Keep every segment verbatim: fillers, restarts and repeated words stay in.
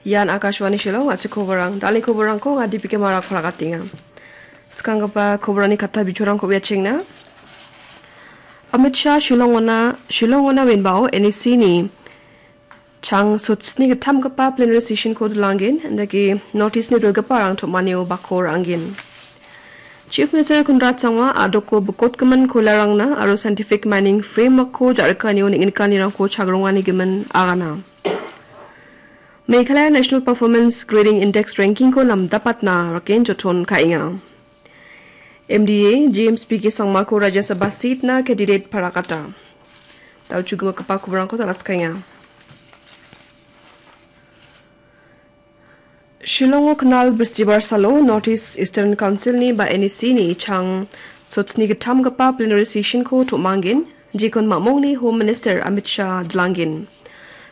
Ian Akashvani Shillong, a·chik koborang. Dal·ni koborangko anga Dipika Marak palakatenga. Skanggipa koborani katta bijorangko uiachengna. Amit Shah Shillongona, Shillongona wenbao N E C ni chang sotsni gittamgipa plenary session-ko dilanggen, indake North East-ni dilgiparang tom·anio bako ra·angen. Chief Minister Conrad Sangma a·doko bikotgimin koilarangna aro scientific mining framework-ko ja·rikanio neng·nikanirangko chagrongani gimin agana. Meghalaya National Performance Grading Index ranking-ko namdapatna raken joton ka·enga. M D A James B K Sangmako Rajya Sabha seat-na candidate parakata. Dal·chugipa koborangko tal·askaenga. Shillongo knal Bristibar salo North East Eastern Council-ni ba N E C-ni chang sotsni gittamgipa plenary session-ko tom·angen, jekon mamongni Home Minister Amit Shah dilanggen.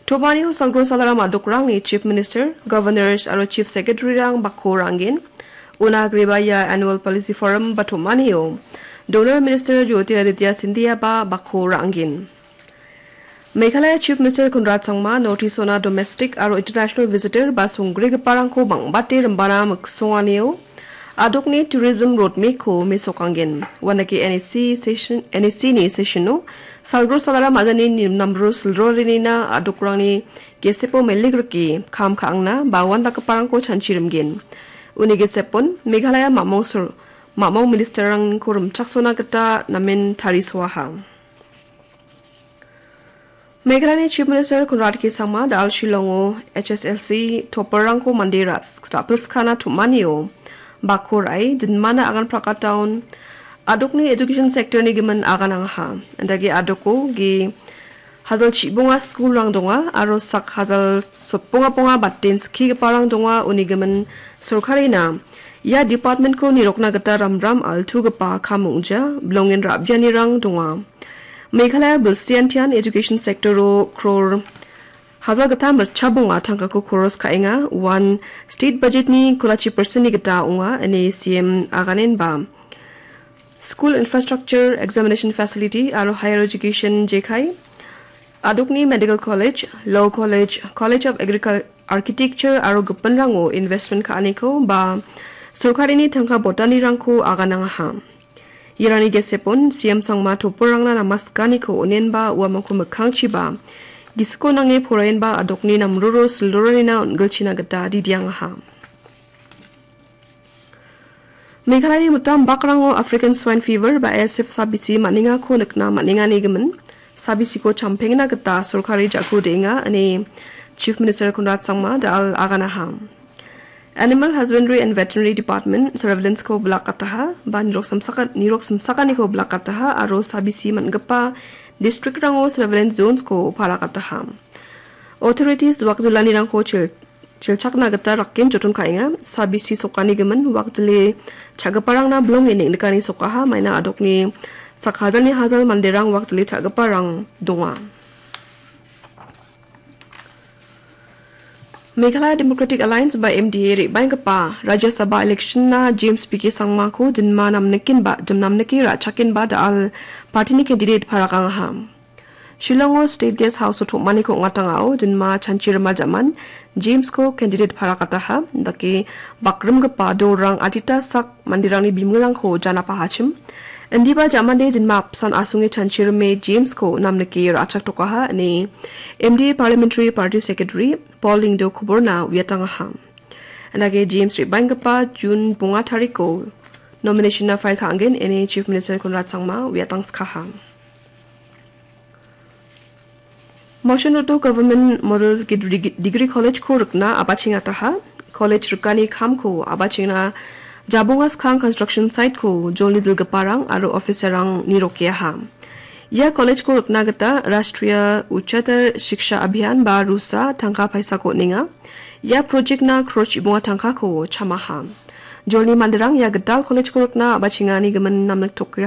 Tom·anio salgro salaram a·dokrangni Chief Minister, Governors aro Chief Secretary-rang bako ra·angen. Una agreba ia Annual Policy Forum ba tom·anio Donor Minister Jyotiraditya Scindia ba bako ra·angen. Meghalaya Chief Minister Conrad Sangma North East-ona domestic aro international visitor ba songgrigiparangko bang·bate rimbana miksonganio a·dokni tourism roadmap-ko mesokanggen. Uandake N E C session, N E C-ni session-o salgro salaram a·dani nimnamro silrorenina a·dokrangni gesepo melik rike kam ka·angna ba uandakgiparangko chanchirimgen. Uni gesepon Meghalaya mamong sor-, mamong minister-rangko rimchaksona gita namen tarisoaha. Meghalayani Chief Minister Conrad K Sangma da·al Shillongo H S L C topper-rangko mande ras-, ra·pilskana tom·anio bako ra·e dinmana agan prakataon a·dokni education sector-ni gimin aganangaha. Indake a·doko ge hajal chibonga school-rang donga aro sak hajal sotbonga bonga baten skigiparang donga, uni gimin sorkarina ia department-ko nirokna gita ramram altugipa kam ong·ja, bilongen ra·bianirang donga. Meghalaya bilsiantian education sector-o crore hajal gita mirchabonga tangkako koros ka·enga, uan state budget-ni kolachi percent-ni gita ong·a, ine C M aganenba. School infrastructure, examination facility aro higher education jekai, a·dokni Medical College, Law College, College of Agricul-, Architecture aro gipinrango investment ka·aniko ba sorkarini tangka botanirangko aganangaha. Iarangni gesepon C M Sangma topper-rangna namaskaniko onenba uamangko mikkangchiba gisiko nange poraenba a·dokni namroro sildoranina on·gilchina gita didiangaha. Meghalayani mitam bakrango African Swine Fever ba A S F sabisi man·engako nikna man·engani gimin sabisiko champengna gita sorkari jako de·enga, ine Chief Minister Conrad Sangma da·al aganaha. Animal Husbandry and Veterinary Department surveillance-ko bilakataha ba nirok samsaka-, nirok simsakaniko bilakataha aro sabisi man·gipa district-rango surveillance zones-ko parakataha. Authorities wakjilanirangko chil-, chilchakna gita rakken joton ka·enga. Sabisi sokani gimin wakjile cha·giparangna bilonge neng·nikani sokaha, maina a·dokni sak hajalni hajal manderang wakjile cha·giparang donga. Meghalaya Democratic Alliance ba M D A re·baenggipa Rajya Sabha election-na James B K Sangmako dinma namnikenba, dim namnike ra·chakenba da·al party-ni candidate parakangaha. Shillongo State Guest House-o tom·aniko ong·atangao dinma chanchi rima jaman James-ko candidate parakataha, dake bakrimgipa dolrang adita sak manderangni bimungko jana pahachim. Indiba jamande dinma apsan asonge chanchi rime James-ko namnike ra·chaktokaha, ine M D A Parliamentary Party Secretary Paul Lyngdoh koborna uiatangaha. Indake James re·baenggipa June bonga tariko nomination-na file ka·angen, ine Chief Minister Conrad Sangma uiatangskaha. Mawshon Road-o Government Model Gid-, Dig-, Degree College-ko rikna abachengataha. College rikani kamko abachengna jabonga skang construction site-ko jolni dilgiparang aro officer-rang nirokeaha. Ia college-ko rikna gita Rashtriya Uchatar Shiksha Abhiyan ba rusa tangka paisako on·enga. Ia project-na crore chibonga tangkako chamaha. Jolni manderang ia gital college-ko rikna abachengani gimin namniktokeha.